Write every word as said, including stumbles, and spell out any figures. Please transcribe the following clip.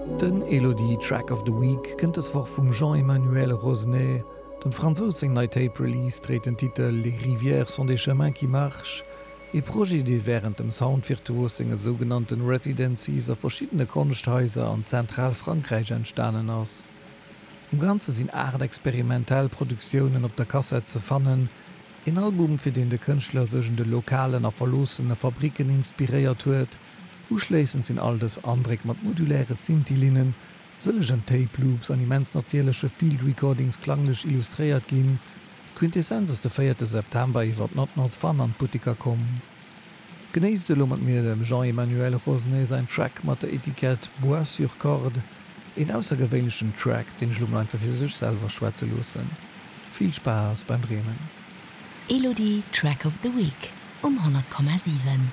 Den Elodie Track of the Week kënnt dës Woch vum Jean-Emmanuel Rosnay. Dem Fransous seng nei Tape Release dréit den Titel Les rivières sont des chemins qui marchent, ee Projet, dee wärend dem Soundvirtuos senge sougenannten Residencies a verschiddene Konschthaiser an Zentralfrankräich entstanen ass. Am Ganze sinn aacht experimentell Produktiounen op der Kassett ze fannen, een Album, fir deen de Kënschtler sech un de lokalen a verloossene Fabricken inspiréiert huet. Uschléissend sinn all dës Andréck mat moduläre Synthi-Linnen, sëllegen Tape Loops an immens natierleche Field Recordings klanglech illustréiert ginn. D'Quintessenz ass de véierte September iwwer Not Not Fun an d'Butteker komm. Genéisst elo mat mir dem Jean-Emmanuel Rosnay säin Track mat der Etikett Bois sur corde, een aussergewéinlechen Track, deen ech elo mol einfach fir sech selwer schwätze loossen. Vill Spaass beim Dreemen. Elodie Track of the Week um honnert Komma siwen.